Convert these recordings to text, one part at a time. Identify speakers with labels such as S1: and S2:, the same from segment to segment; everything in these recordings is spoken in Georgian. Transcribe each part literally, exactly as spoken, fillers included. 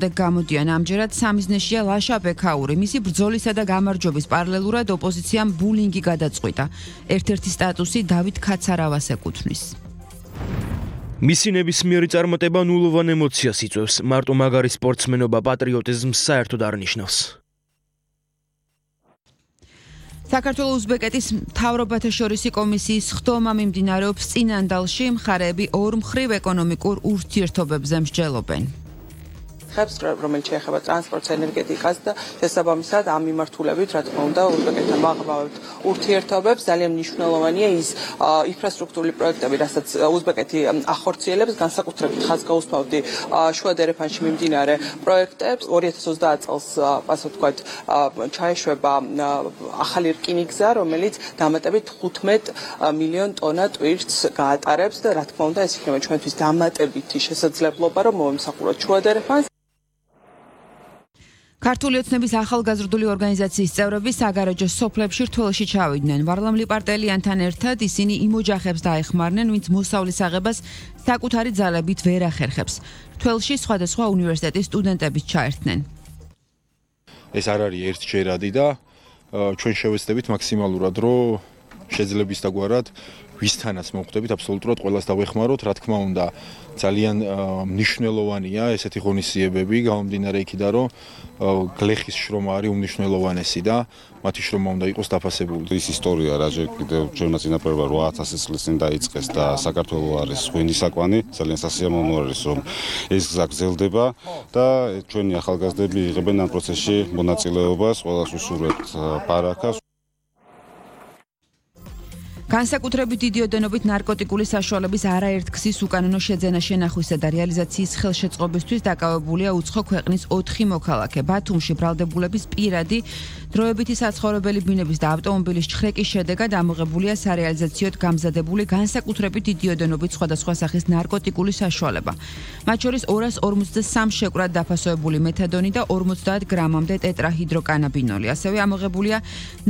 S1: უკრდე გამოდიან ამჯერად სამიზნეშია ლაშა ბექაური. მისი ბრძოლისა და გამარჯვების პარალელურად ოპოზიციამ ბულინგი გადაწყვიტა. ერთ-ერთი სტატუსი დავით ქაცარავას ეკუთვნის.
S2: მისი ნებისმიერი წარმატება ნულოვან ემოციას იწვევს. მარტო მაგარი სპორტსმენობა პატრიოტიზმს საერთოდ არ ნიშნავს.
S1: საქართველოს უზბეკეთის მთავრობათა შორისი კომისიის ხდომა მიმდინარეობს წინანდალში, მხარეები ორმხრივ ეკონომიკურ ურთიერთობებზე მსჯელობენ.
S3: ხებს რომელიც შეეხება ტრანსპორტს, ენერგეტიკას და შესაბამისად ამ მიმართულებით, რა თქმა უნდა, უზბეკეთთან ვაღებავებთ ურთიერთობებს. ძალიან მნიშვნელოვანია ის ინფრასტრუქტურული პროექტები, რასაც უზბეკეთი ახორციელებს, განსაკუთრებით ხაზგაუსმავდი შუა დერეფანში მიმდინარე პროექტებს. ორი ათას ოცდაათ წელს, ასე ვთქვათ, ჩაეშვება ახალი რკინიგზა, რომელიც დამატებით თხუთმეტ მილიონ ტონა ტვირთს გაატარებს და რა თქმა უნდა, ეს იქნება ჩვენთვის დამატებითი შესაძლებლობა, რომ მომსახუროთ შუა დერეფანს.
S1: ქართული ოცნების ახალგაზრდული ორგანიზაციის წევრები საგარეჯო სოფლებში რთველში ჩავიდნენ. ვარლამ ლიპარტელიანთან ერთად ისინი იმ ოჯახებს დაეხმარნენ, ვინც მოსავლის აღებას საკუთარი ძალებით ვერ ახერხებს. რთველში სხვადასხვა უნივერსიტეტის სტუდენტებიც ჩაერთნენ.
S4: ეს არ არის ერთჯერადი და ჩვენ შევეცდებით მაქსიმალურად, რომ შეძლებისდაგვარად ვისთანაც მოვხვდებით, აბსოლუტურად ყველას დავეხმაროთ, რა თქმა უნდა, ძალიან მნიშვნელოვანია ესეთი ღონისძიებები, გამომდინარე იქიდან, რომ გლეხის შრომა არის უმნიშვნელოვანესი და მათი შრომა უნდა იყოს დაფასებული.
S5: ის ისტორია რაჯერ კიდევ ჩვენმა წინაპრებმა რვა ათასი წლის წინ დაიწყეს და საქართველოს არის ღვინის საკვანი, ძალიან სასიამოვნო არის, რომ ეს გზა გრძელდება და ჩვენი ახალგაზრდები იღებენ ამ პროცესში მონაწილეობას, ყველას უსურვებთ ბარაქას.
S1: განსაკუთრებით დიდი ოდენობით ნარკოტიკული საშუალების არაერთგზის უკანონო შეძენა შენახვისა და რეალიზაციის ხელშეწყობისთვის დაკავებულია უცხო ქვეყნის ოთხი მოქალაქე. ბათუმში ბრალდებულების პირადი დროებითი საცხოვრებელი ბინების და ავტომობილის ჩხრეკის შედეგად ამოღებულია სარეალიზაციოდ გამზადებული განსაკუთრებით დიდი ოდენობით სხვადასხვა სახის ნარკოტიკული საშუალება. მათ შორის ორას ორმოცდასამ შეკვრად დაფასოებული მეთადონი და ორმოცდაათ გრამამდე ტეტრაჰიდროკანაბინოლი. ასევე ამოღებულია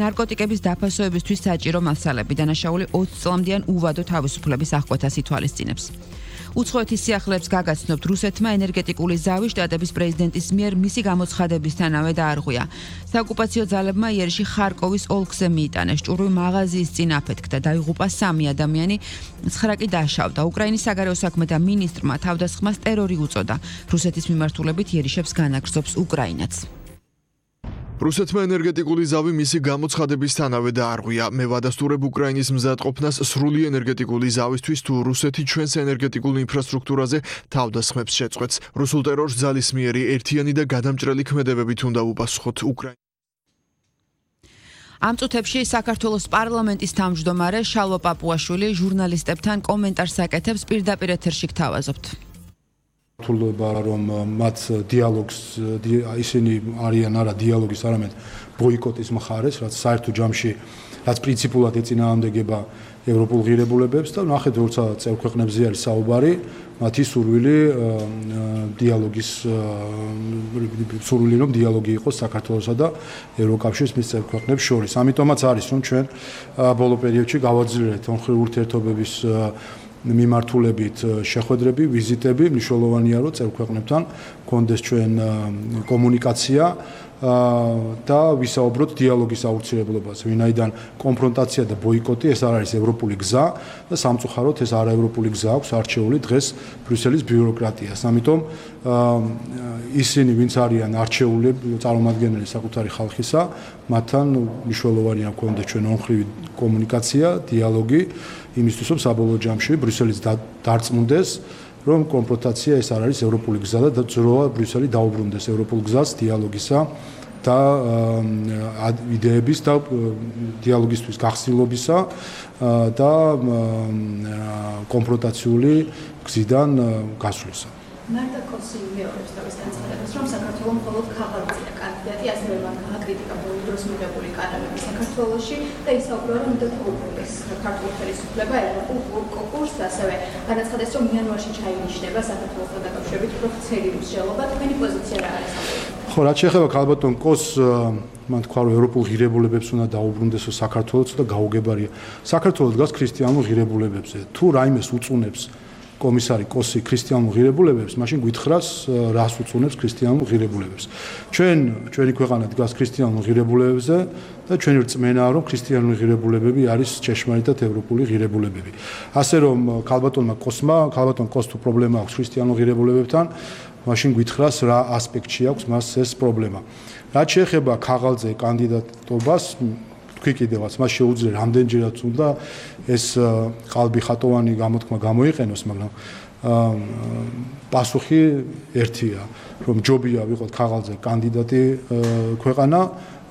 S1: ნარკოტიკების დაფასოებისთვის საჭირო მასალები. დანაშაული ოცი წლამდიან უვადო თავისუფლების აღკვეთას ითვალისწინებს. უცხოეთის სიახლეებს გაგაცნობთ რუსეთმა ენერგეტიკული ზავი შტატების პრეზიდენტის მიერ მისი გამოცხადებისთანავე დაარღვია. საოკუპაციო ძალებმა იერში ხარკოვის ოლქზე მიიტანეს ჭურვი მაღაზიის წინ აფეთქდა, დაიღუპა სამი ადამიანი, ცხრა კი დაშავდა. უკრაინის საგარეო საქმეთა მინისტრმა თავდასხმას ტერორი უწოდა. რუსეთის მიმართულებით იერიშებს განაგრძობს უკრაინაც.
S6: რუსეთმა ენერგეტიკული ზავი მისი გამოცხადებისთანავე დაარღვია. მე ვადასტურებ უკრაინის მზადყოფნას სრული ენერგეტიკული ზავისთვის, თუ რუსეთი ჩვენს ენერგეტიკულ ინფრასტრუქტურაზე თავდასხმებს შეწყვეტს. რუსულ ტერორს ძალისმიერი, ერთიანი და გადამჭრელი ქმედებებით უნდა უპასუხოთ უკრაინა.
S1: ამ წუთებში საქართველოს პარლამენტის თავმჯდომარე შალვა პაპუაშვილი ჟურნალისტებთან კომენტარს აკეთებს, პირდაპირ ეთერში გთავაზობთ.
S7: თულდება რომ მათ დიალოგს ისინი არიან არა დიალოგის, არამედ ბოიკოტის მხარეს, რაც საერთო ჯამში რაც პრინციპულად ეწინააღმდეგება ევროპულ ღირებულებებს და ნახეთ როცა წევრ ქვეყნებზე არის საუბარი, მათი სურვილი დიალოგის სურვილი რომ დიალოგი იყოს საქართველოსა და ევროკავშირის მის წევრ ქვეყნებს შორის. ამიტომაც არის რომ ჩვენ ბოლო პერიოდში გავაძლიერეთ ორმხრივ ურთიერთობების მიმართულებით შეხვედრები, ვიზიტები, მნიშვნელოვანია რომ წევრ ქვეყნებთან გქონდეს ჩვენ კომუნიკაცია და ვისაუბროთ დიალოგის აუცილებლობაზე. ვინაიდან კონფრონტაცია და ბოიკოტი ეს არ არის ევროპული გზა და სამწუხაროდ ეს არაევროპული გზა აქვს არჩეული დღეს ბრიუსელის ბიუროკრატიას. ამიტომ ისინი ვინც არიან არჩეული წარმომადგენელი საკუთარი ხალხისა, მათთან მნიშვნელოვანია გქონდეს ჩვენ ორმხრივი კომუნიკაცია, დიალოგი იმისთვის რომ საბოლოო ჯამში ბრიუსელის დარწმუნდეს რომ კონფრონტაცია ეს არ არის ევროპული გზა და ძროა ბრიუსელი დაუბრუნდეს ევროპულ გზას დიალოგისა და იდეების და დიალოგისთვის გახსნილობისა და კონფრონტაციული გზიდან გასვლისა.
S8: მარტა კოსინი მეორებს თავის განცხადებას, რომ საქართველოს მხოლოდ ქაღალდია კანდიდატი, ასევე მან აკრიტიკა ბოლო დროს მიღებული კანონები საქართველოში და ისაუბრა, რომ უნდა დაუბრუნდეს საქართველოს ხელისუფლება ევროპულ კონკურსს, ასევე განაცხადეს, რომ იანვარში ჩაინიშნება საქართველოსთან დაკავშირებით ოფიციალური მსჯელობა. თქვენი პოზიცია რა არის?
S7: ხო, რაც შეეხება ქალბატონ კოს, მან თქვა, რომ ევროპულ ღირებულებებს უნდა დაუბრუნდესო საქართველოს და გაუგებარია. საქართველოს დგას ქრისტიანულ ღირებულებებზე. თუ რაიმეს უწუნებს კომისარი კოსი ქრისტიანულ ღირებულებებს, მაშინ გითხრას რას უწუნებს ქრისტიანულ ღირებულებებს. ჩვენ ჩვენი ქვეყანა დგას ქრისტიანულ ღირებულებებზე და ჩვენი რწმენაა, რომ ქრისტიანული ღირებულებები არის ჭეშმარიტად ევროპული ღირებულებები. ასე რომ ქალბატონმა კოსმა, ქალბატონ კოს თუ პრობლემა აქვს ქრისტიანულ ღირებულებებთან, მაშინ გითხრას რა ასპექტში აქვს მას ეს პრობლემა. რაც შეეხება ქაღალდზე კანდიდატობას, თქვი კიდევაც მას შეუძლია რამდენჯერაც უნდა ეს ყალბი ხატოვანი გამოთქმა გამოიყენოს, მაგრამ პასუხი ერთია, რომ ჯობია ვიყოთ ქაღალდზე კანდიდატი ქვეყანა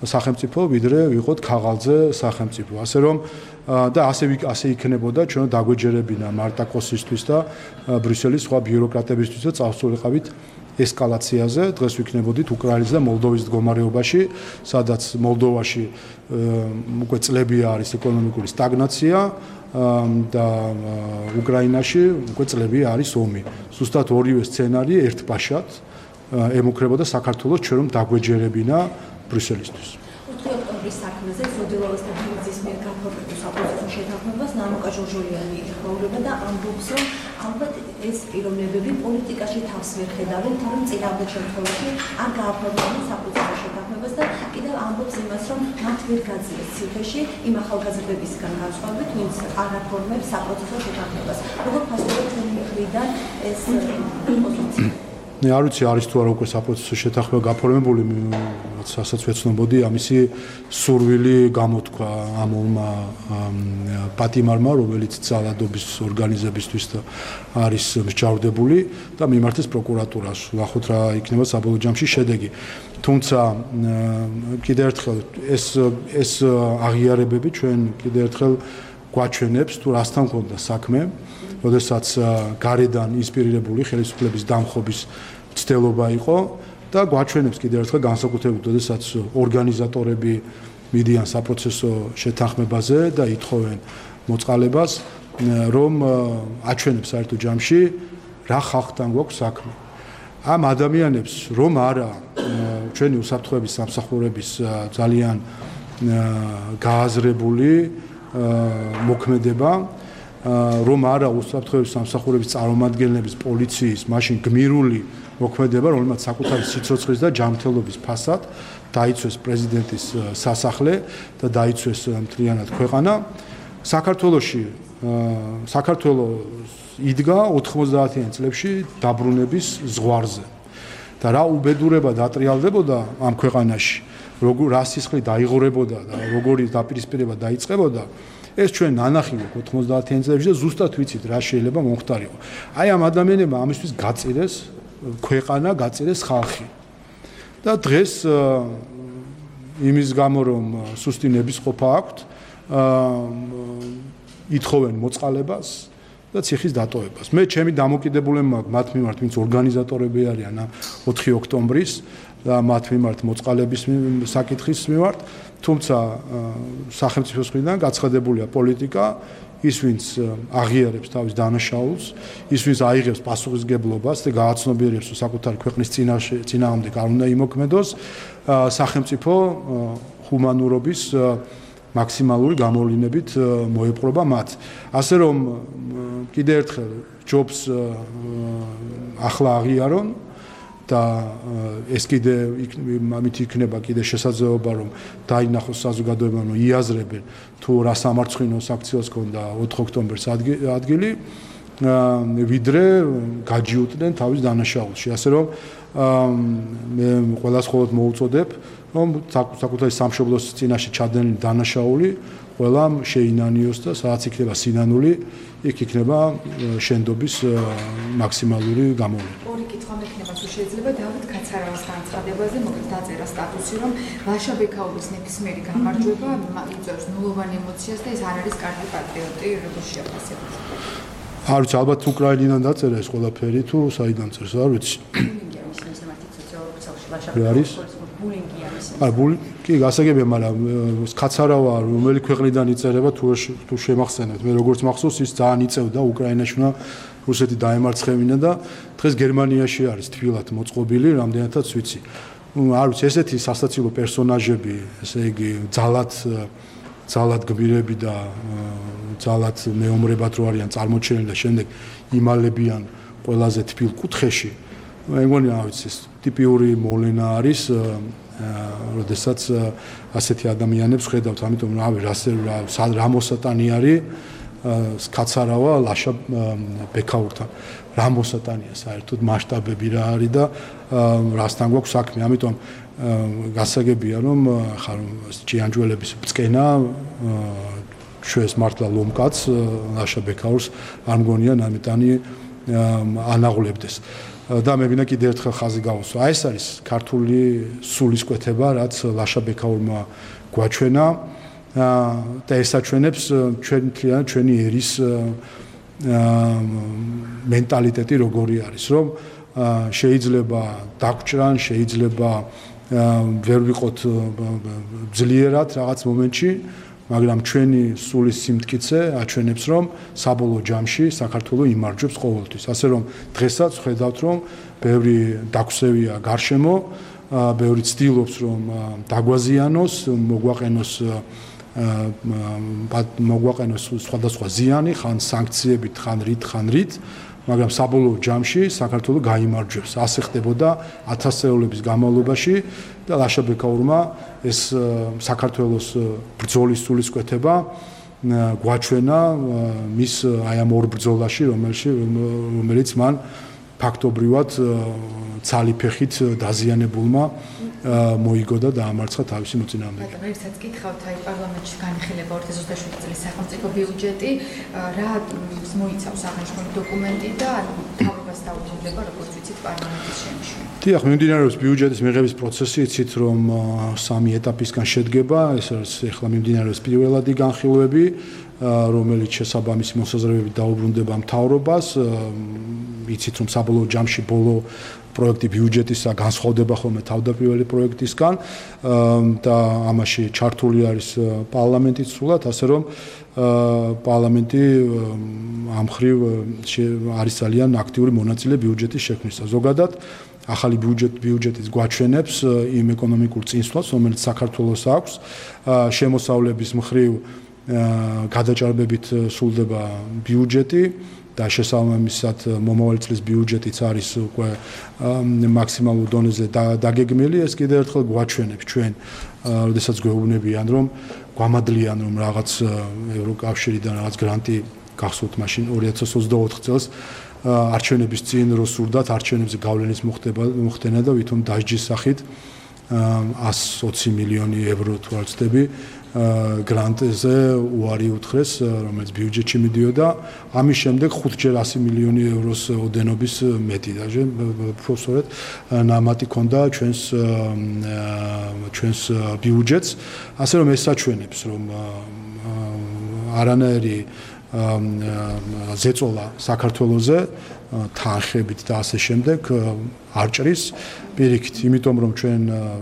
S7: სახელმწიფო, ვიდრე ვიყოთ ქაღალდზე სახელმწიფო. ასე რომ და ასე ასე იქნებოდა ჩვენ დაგვეჯერებინა მარტა კოსისთვის და ბრიუსელის სხვა ბიუროკრატებისთვის და წავსულიყავით ესკალაციაზე. დღეს ვიქნებოდით უკრაინის და მოლდოვის მდგომარეობაში, სადაც მოლდოვაში უკვე წლებია არის ეკონომიკური სტაგნაცია და უკრაინაში უკვე წლებია არის ომი. ზუსტად ორივე სცენარი ერთბაშად ემუქრებოდა საქართველოს ჩვენ რომ დაგვეჯერებინა ბრიუსელისთვის.
S9: ოქტომბრის საქმეზე ზოდილოვას და ბიძის მიერ გაფორმებულ საპროცესო შეთანხმებას ნანუკა ჟორჟოლიანი ეხმაურება და ამბობს, რომ ალბათ ეს პიროვნებები პოლიტიკაში თავს ვერ ხედავენ, თორემ წინააღმდეგ შემთხვევაში არ გააფორმებენ საპროცესო შეთანხმებას და კიდევ ამბობს იმას, რომ მათ ვერ გაძლეს ციხეში იმ ახალგაზრდებისგან განსხვავებით, ვინც არ აფორმებს საპროცესო შეთანხმებას. როგორ ფასდება თქვენი მხრიდან ეს პოზიცია?
S7: მე არ ვიცი არის თუ არა უკვე საპროცესო შეთანხმება გაფორმებული, რასაც ვეცნობოდი, ამისი სურვილი გამოთქვა ამულმა პატიმარმა, რომელიც ძალადობის ორგანიზებისთვის არის მსჯავრდებული და მიმართეს პროკურატურას. ნახოთ რა იქნება საბოლოო ჯამში შედეგი. თუმცა კიდევ ერთხელ ეს ეს აღიარებები ჩვენ კიდევ ერთხელ გვაჩვენებს თუ რასთან მქონდა საქმე, როდესაც გარედან ინსპირირებული ხელისუფლების დამხობის ცდელობა იყო და გვაჩვენებს კიდევ ერთხელ განსაკუთრებით, როდესაც ორგანიზატორები მიდიან საპროცესო შეთანხმებაზე და ითხოვენ მოწყალებას, რომ აჩვენებს საერთო ჯამში რა ხალხთან გვაქვს საქმე. ამ ადამიანებს რომ არა ჩვენი უსაფრთხოების სამსახურების ძალიან გააზრებული მოქმედება, რომ არა უსაფრთხოების სამსახურების წარმომადგენლების პოლიციის მაშინ გმირული მოქმედება, რომელმაც საკუთარი სიცოცხლის და ჯანმრთელობის ფასად დაიცვეს პრეზიდენტის სასახლე და დაიცვეს მთლიანად ქვეყანა. საქართველოში საქართველოს იდგა ოთხმოცდაათიან წლებში დაბრუნების ზღვარზე და რა უბედურება დატრიალდებოდა ამ ქვეყანაში, როგორ რა სისხლი დაიღურებოდა და როგორი დაპირისპირება დაიწყებოდა, ეს ჩვენ ნანახი გვაქვს ოთხმოცდაათიან წლებში და ზუსტად ვიცით რა შეიძლება მომხდარიყო. აი ამ ადამიანებმა ამისთვის გაწირეს ქვეყანა, გაწირეს ხალხი. და დღეს იმის გამო რომ სუსტი ნებისყოფა აქვთ, ითხოვენ მოწყალებას და ციხის დატოვებას. მე ჩემი დამოკიდებულება მაქვს მათ მიმართ, ვინც ორგანიზატორები არიან ოთხი ოქტომბრის და მათ მიმართ მოწყალების საკითხის მიმართ, თუმცა სახელმწიფოს მხრიდან გაცხადებულია პოლიტიკა, ის ვინც აღიარებს თავის დანაშაულს, ის ვინც აიღებს პასუხისგებლობას და გააცნობიერებს, რომ საკუთარი ქვეყნის წინააღმდეგ არ უნდა იმოქმედოს, სახელმწიფო ჰუმანურობის მაქსიმალური გამოვლინებით მოეპყრობა მათ. ასე რომ კიდევ ერთხელ ჯობს ახლა აღიარონ და ეს კიდე ამით იქნება კიდე შესაძლებლობა რომ დაინახოს საზოგადოებამ რომ იაზრებენ თუ რა სამარცხვინოს აქციას ქონდა ოთხ ოქტომბერს ადგილი ვიდრე გაჯიუტდნენ თავის დანაშაულში. ასე რომ მე ყველას ხოლმე მოუწოდებ რომ საკუთარი სამშობლოს წინაშე ჩადენილი დანაშაული ყველამ შეინანიოს და სადაც იქნება სინანული, იქ იქნება შენდობის მაქსიმალური გამოვლენა.
S10: ორი კითხვა მექნება თუ შეიძლება დავით კაცარავას განცხადებაზე, მოკლედ დაწერა სტატუსი, რომ ლაშა ბექაურის ნებისმიერი გამარჯვება იწვევს ნულოვან ემოციას და ეს არ არის კარგი პატრიოტი, როგორც შეაფასებთ.
S7: არ ვიცი, ალბათ უკრაინიდან დაწერა ეს ყველაფერი თუ საიდან წერს, არ ვიცი. არის? არა, კი, გასაგებია, მაგრამ კაცარავა რომელი ქვეყნიდან იწერება თუ თუ შემახსენებთ. მე როგორც მახსოვს, ის ძალიან იწევდა უკრაინაში უნდა რუსეთი დაემარცხევინა და დღეს გერმანიაში არის თბილად მოწყობილი, რამდენადაც ვიცი. არ ვიცი, ესეთი სასაცილო პერსონაჟები, ესე იგი, ძალად ძალად გმირები და ძალად მეომრებად რო არიან წარმოჩენილი და შემდეგ იმალებიან ყველაზე თბილ კუთხეში. მე მგონი რა ვიცი, ტიპიური მოვლენა არის, როდესაც ასეთი ადამიანებს ხედავთ, ამიტომ რავი, რა მოსატანი არის სკაცარავა ლაშა ბექაურთან. რა მოსატანია საერთოდ მასშტაბები რა არის და რასთან გვაქვს საქმე. ამიტომ გასაგებია რომ ხარ ჭიანჭველების ბწყენა ჩვენს მართლა ლომკაც ლაშა ბექაურს არ მგონია ნამეტანი ანაღლებდეს. და მე ვინა კიდევ ერთხელ ხაზი გავუსვა. აი ეს არის ქართული სულისკვეთება, რაც ლაშა ბექაურმა გვაჩვენა და ესაჩვენებს ჩვენ თლიანად ჩვენი ერის მენტალიტეტი როგორი არის, რომ შეიძლება დაგვჭრან, შეიძლება ვერ ვიყოთ ძლიერად რაღაც მომენტში, მაგრამ ჩვენი სულის სიმტკიცე აჩვენებს, რომ საბოლოო ჯამში საქართველო იმარჯვებს ყოველთვის. ასე რომ დღესაც ხედავთ, რომ ბევრი დაგვსევია გარშემო, ბევრი ცდილობს, რომ დაგვაზიანოს, მოგვაყენოს მოგვაყენოს სხვადასხვა ზიანი, ხან სანქციებით, ხან რით, ხან რით, მაგრამ საბოლოო ჯამში საქართველო გაიმარჯვებს. ასე ხდებოდა ათასწლეულების განმავლობაში და ლაშა ბექაურმა ეს საქართველოს ბრძოლის სულისკვეთება გვაჩვენა მის აი ამ ორ ბრძოლაში, რომელიც მან ფაქტობრივად ცალი ფეხით დაზიანებულმა მოიგო და დაამარცხა თავისი მოწინააღმდეგე.
S10: მაგრამ ერთსაც გითხავთ, აი პარლამენტში განიხილება ორი ათას ოცდაშვიდი წლის სახელმწიფო ბიუჯეტი, რა მოიცავს აღნიშნული დოკუმენტი და თავებას დაუჯერდება, როგორც ვიცით, პარლამენტის შემში. დიახ,
S7: მიმდინარეობს ბიუჯეტის მიღების პროცესი, იცით რომ სამი ეტაპისგან შედგება, ეს არის ახლა მიმდინარეობს პირველადი განხილვები, რომელიც შესაბამისი მოსაზრებებით დაუბრუნდება მთავრობას, იცით რომ საბოლოო ჯამში ბოლო პროექტი ბიუჯეტისა განსხვავდება ხოლმე თავდაპირველი პროექტისგან და ამაში ჩართული არის პარლამენტიც სულად, ასე რომ პარლამენტი ამ მხრივ არის ძალიან აქტიური მონაწილე ბიუჯეტის შექმნისა. ზოგადად ახალი ბიუჯეტ ბიუჯეტის გვაჩვენებს იმ ეკონომიკურ წინსვლას, რომელიც საქართველოს აქვს, შემოსავლების მხრივ გადაჭარბებით სრულდება ბიუჯეტი და შესაბამისად მომავალი წლის ბიუჯეტიც არის უკვე მაქსიმალურ დონეზე დაგეგმილი. ეს კიდევ ერთხელ გვაჩვენებს ჩვენ, როდესაც გვეუბნებიან, რომ გვამადლიან, რომ რაღაც ევროკავშირიდან რაღაც გრანტი გახსოვთ მაშინ ორი ათას ოცდაოთხ წელს არჩევნების წინ რო სურდათ არჩევნებზე გავლენის მოხდენა და ვითომ დასჯის სახით εκατს ოცი მილიონი ევრო თუ არ ვცდები გრანტზე უარი უთხრეს, რომელიც ბიუჯეტში მიდიოდა. ამის შემდეგ ხუთჯერ ასი მილიონი ევროს ოდენობის მეტი დაჟე პროფესორად ნამატი ქონდა ჩვენს ჩვენს ბიუჯეტს. ასე რომ ეს საჩვენებს, რომ არანაირი ზეწოლა საქართველოზე თანხებით და ასე შემდეგ არ ჭრის პირიქით, იმიტომ რომ ჩვენ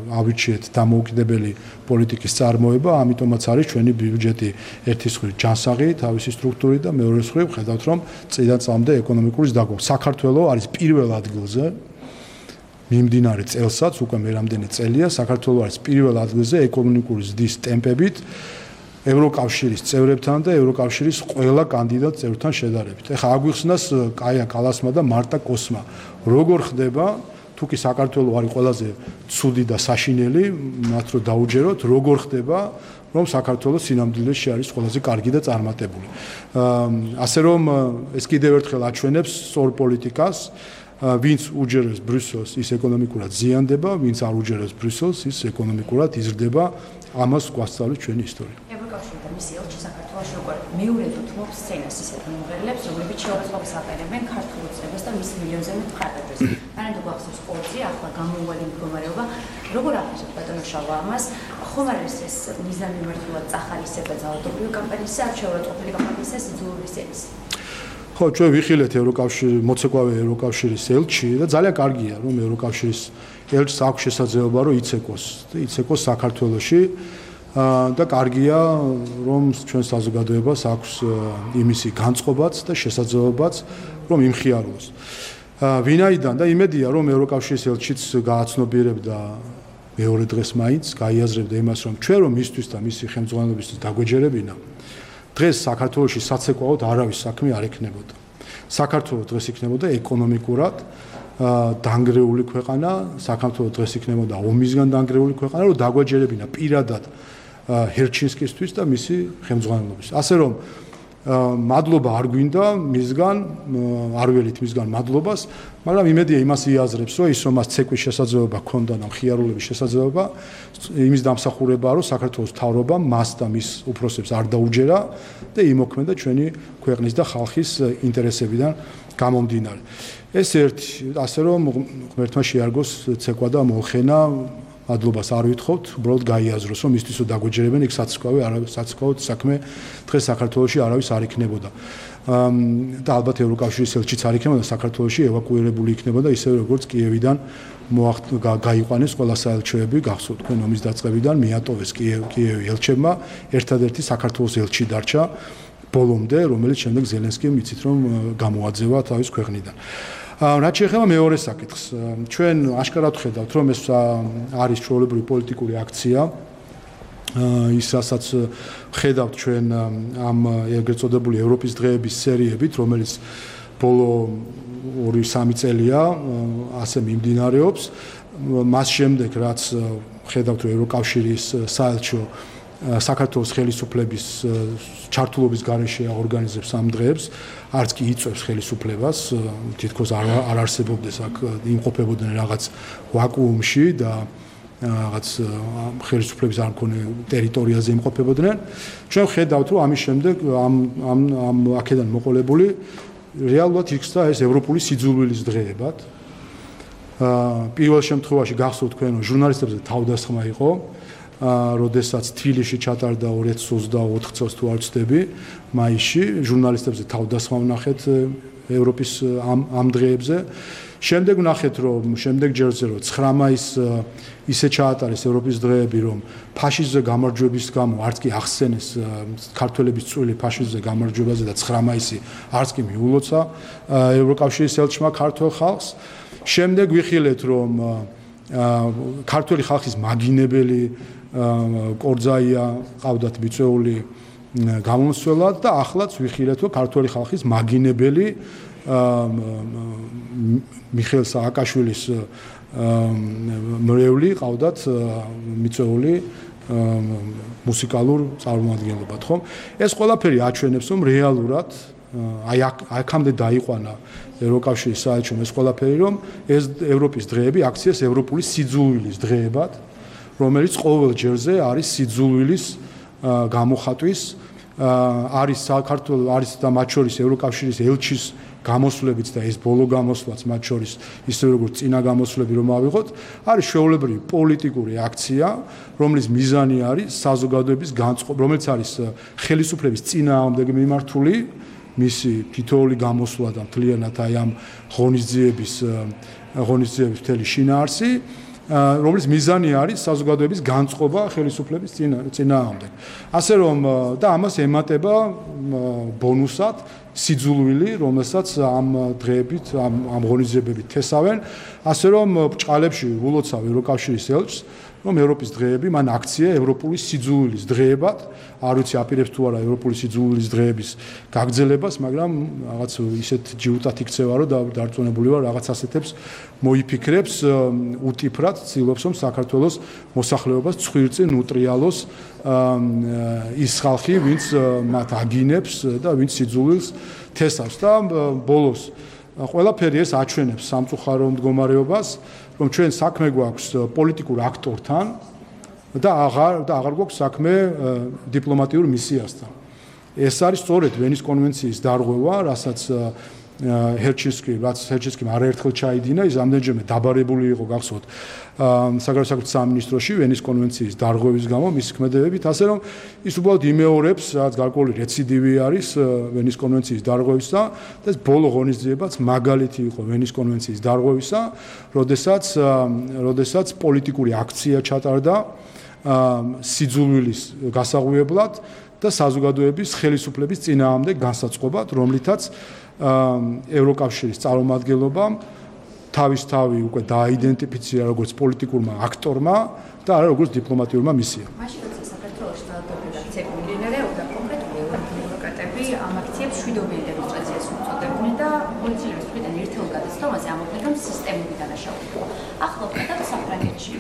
S7: ავიჩიეთ დამოუკიდებელი პოლიტიკის წარმოება, ამიტომაც არის ჩვენი ბიუჯეტი ერთი მხრივ ჯანსაღი თავისი სტრუქტურით და მეორე მხრივ ხედავთ რომ წლიდან წლამდე ეკონომიკური ზრდა. საქართველო არის პირველ ადგილზე მიმდინარე წელსაც, უკვე მე რამდენი წელია, საქართველო არის პირველ ადგილზე ეკონომიკური ზრდის ტემპებით ევროკავშირის წევრებთან და ევროკავშირის ყველა კანდიდატ წევრთან შედარებით. ეხლა აგვიხსნას კაია კალასმა და მარტა კოსმა. როგორ ხდება, თუ კი საქართველო არის ყველაზე ცუდი და საშინელი, მათ რო დაუჯეროთ, როგორ ხდება, რომ საქართველო სინამდვილეში არის ყველაზე კარგი და წარმატებული. ასე რომ ეს კიდევ ერთხელ აჩვენებს სწორ პოლიტიკას, ვინც უჯერებს ბრიუსელს, ის ეკონომიკურად ზიანდება, ვინც არ უჯერებს ბრიუსელს, ის ეკონომიკურად იზრდება. ამას გვასწავლებს ჩვენი ისტორია.
S11: მისი ელჩი საქართველოში როგორ მეორედ უთმობს სცენას ისეთ მომღერლებს, რომლებიც შეურაცხყოფას აფერებენ ქართულ უწყებას და მის მილიონზე მეტ მხატვრებს. მანამდე გვახსოვს ყორძი, ახლა გამოუვალი მდგომარეობა, როგორ აფასებს ბატონო შავა ამას, ხომ არის ეს მიზანმიმართულად წახალისება ძალადობრივი კამპანიისა, არ შეურაცხყოფილი კამპანიისა სიძულვების სცენის?
S7: ხო, ჩვენ ვიხილეთ ევროკავშირი, მოცეკვავე ევროკავშირის ელჩი და ძალიან კარგია, რომ ევროკავშირის ელჩს აქვს შესაძლებლობა, რომ იცეკოს, იცეკოს საქართველოში. და კარგია, რომ ჩვენ საზოგადოებას აქვს იმისი განწყობაც და შესაძლებლობაც, რომ იმხიაროს. ვინაიდან და იმედია, რომ ევროკავშირის ელჩიც გააცნობიერებდა მეორე დღეს მაინც, გაიაზრებდა იმას, რომ ჩვენ რომ მისთვის და მისი ხელმძღვანელობისთვის დაგვეჯერებინა, დღეს საქართველოში საცეკვაოდ არავის საქმე არ ექნებოდა. საქართველოს დღეს იქნებოდა ეკონომიკურად დანგრეული ქვეყანა, საქართველოს დღეს იქნებოდა ომისგან დანგრეული ქვეყანა, რომ დაგვაჯერებინა პირადად ჰერჩინსკისთვის და მისი ხელმძღვანელობის. ასე რომ მადლობა არ გვინდა მისგან, არ ველით მისგან მადლობას, მაგრამ იმედია იმას იაზრებს, რომ ის რომ მას ცეკვის შესაძლებლობა ჰქონდა და მხიარულების შესაძლებლობა, იმის დამსახურებაა, რომ საქართველოს მთავრობამ მას და მის უფროსებს არ დაუჯერა და იმოქმედა ჩვენი ქვეყნის და ხალხის ინტერესებიდან გამომდინარე. ეს ერთი, ასე რომ ღმერთმა შეარგოს ცეკვა და მოხენა, მადლობას არ ვითხოვთ, უბრალოდ გაიაზროს, რომ მისთვის რომ დაგვეჯერებენ, იქ საცეკვავი არავის საცეკვაოდ საქმე დღეს საქართველოში არავის არ იქნებოდა. და ალბათ ევროკავშირის ელჩიც არ იქნებოდა, საქართველოში ევაკუირებული იქნებოდა, ისევე როგორც კიევიდან გაიყვანეს ყველა საელჩოები, გახსოვთ თქვენ ომის დაწყებიდან მიატოვეს კიევი ელჩებმა, ერთადერთი საქართველოს ელჩი დარჩა ბოლომდე, რომელიც შემდეგ ზელენსკიმ იცით რომ გამოაძევა თავის ქვეყნიდან. რაც შეეხება მეორე საკითხს, ჩვენ აშკარად ხედავთ, რომ ეს არის ჩვეულებრივი პოლიტიკური აქცია. ის რასაც ხედავთ ჩვენ ამ ეგრეთ წოდებული ევროპის დღეების სერიებით, რომელიც ბოლო ორი სამი წელია ასე მიმდინარეობს. მას შემდეგ რაც ხედავთ რომ ევროკავშირის საელჩო საქართველოს ხელისუფლების ჩართულობის გარეშე ორგანიზებს ამ დღეებს, არც კი იწვევს ხელისუფლებას, თითქოს არ არ არსებობდეს აქ იმყოფებოდნენ რაღაც ვაკუუმში და რაღაც ხელისუფლების არ მქონე ტერიტორიაზე იმყოფებოდნენ. ჩვენ ხედავთ რომ ამის შემდეგ ამ ამ ამ აქედან მოყოლებული რეალურად იქცდა ეს ევროპული სიძულვილის დღეებად. პირველ შემთხვევაში გახსოვთ თქვენ რომ ჟურნალისტებზე თავდასხმა იყო, როდესაც თბილისში ჩატარდა ორი ათი ოცდაოთხ წელს თუ არ ვცდები, მაისში ჟურნალისტებზე თავდასხმა ვნახეთ ევროპის ამ ამ დღეებზე. შემდეგ ვნახეთ რომ შემდეგ ჯერზე რომ ცხრა მაისს ისე ჩაატარეს ევროპის დღეები, რომ ფაშიზმზე გამარჯვების გამო არც კი ახსენეს ქართველების წვლილი ფაშიზმზე გამარჯვებაზე და ცხრა მაისი არც კი მიულოცა ევროკავშირის ელჩმა ქართველ ხალხს. შემდეგ ვიხილეთ რომ ქართველი ხალხის მაგინებელი კორძაია ყავდათ მიწვეული გამომსვლელად და ახლაც ვიხილეთ რომ ქართველი ხალხის მაგინებელი მიხეილ სააკაშვილის მრევლი ყავდათ მიწვეული მუსიკალურ წარმოადგენლობად, ხომ? ეს ყველაფერი აჩვენებს რომ რეალურად აი აქამდე დაიყვანა ევროკავშირის საელჩომ ეს ყველაფერი, რომ ეს ევროპის დღეები აქციეს ევროპული სიძულვილის დღეებად, რომელიც ყოველ ჯერზე არის სიძულვილის გამოხატვის, არის საქართველოს არის და მათ შორის ევროკავშირის ელჩის გამოსვლებიც და ეს ბოლო გამოსვლაც მათ შორის ისევე როგორც წინა გამოსვლები რომ ავიღოთ, არის შეუულებრივი პოლიტიკური აქცია, რომლის მიზანი არის საზოგადოების განწყობა, რომელიც არის ხელისუფლების წინააღმდეგ მიმართული, მისი თითოეული გამოსვლა და მთლიანად აი ამ ღონისძიების ღონისძიების მთელი შინაარსი, რომლის მიზანი არის საზოგადოების განწყობა ხელისუფლების წინააღმდეგ. ასე რომ და ამას ემატება ბონუსად სიძულვილი, რომელსაც ამ დღეებით ამ ამ ღონისძიებებით თესავენ, ასე რომ ბჭყალებში ულოცავ ევროკავშირის ელჩს, რომ ევროპის დღეები მან აქცია ევროპული სიძულვილის დღეებად, არ ვიცი აპირებს თუ არა ევროპული სიძულვილის დღეების გაგრძელებას, მაგრამ რაღაც ისეთ ჯიუტად იქცევა, რომ დარწმუნებული ვარ რაღაც ასეთებს მოიფიქრებს, უტიფრად ცდილობს რომ საქართველოს მოსახლეობას ცხვირწინ უტრიალოს ის ხალხი, ვინც მათ აგინებს და ვინც სიძულვილს თესავს და ბოლოს ყველაფერი ეს აჩვენებს სამწუხარო მდგომარეობას, რომ ჩვენ საქმე გვაქვს პოლიტიკურ აქტორთან და აღარ და აღარ გვაქვს საქმე დიპლომატიურ მისიასთან. ეს არის სწორედ ვენის კონვენციის დარღვევა, რასაც ჰერჩინსკი, რაც ჰერჩინსკიმ არაერთხელ ჩაიდინა, ის ამდენჯერმე დაბარებული იყო გახსოვთ საგარეო საქმეთა სამინისტროში ვენის კონვენციის დარღვევის გამო მის ქმედებებით, ასე რომ ის უბრალოდ იმეორებს, რაც გარკვეული რეციდივი არის ვენის კონვენციის დარღვევისა და ეს ბოლო ღონისძიებაც მაგალითი იყო ვენის კონვენციის დარღვევისა, როდესაც როდესაც პოლიტიკური აქცია ჩატარდა სიძულვილის გასაღვიებლად და საზოგადოების ხელისუფლების წინააღმდეგ განსაწყობად, რომლითაც ევროკავშირის წარმომადგენლობამ თავისთავი უკვე დააიდენტიფიცირა როგორც პოლიტიკურმა აქტორმა და არა როგორც დიპლომატიურმა მისიამ.
S11: მაშინ როცა საქართველოში ძალადობრივად ცეკვა მიმდინარეობდა, კონკრეტული ევროპული მშვიდობიანი დემონსტრაციას უწოდებდნენ და პოლიციელების მხრიდან ერთეულ გადაცდომაზე ამოქმედამ სისტემური დანაშაულება. ახლა ვხედავთ საფრანგეთში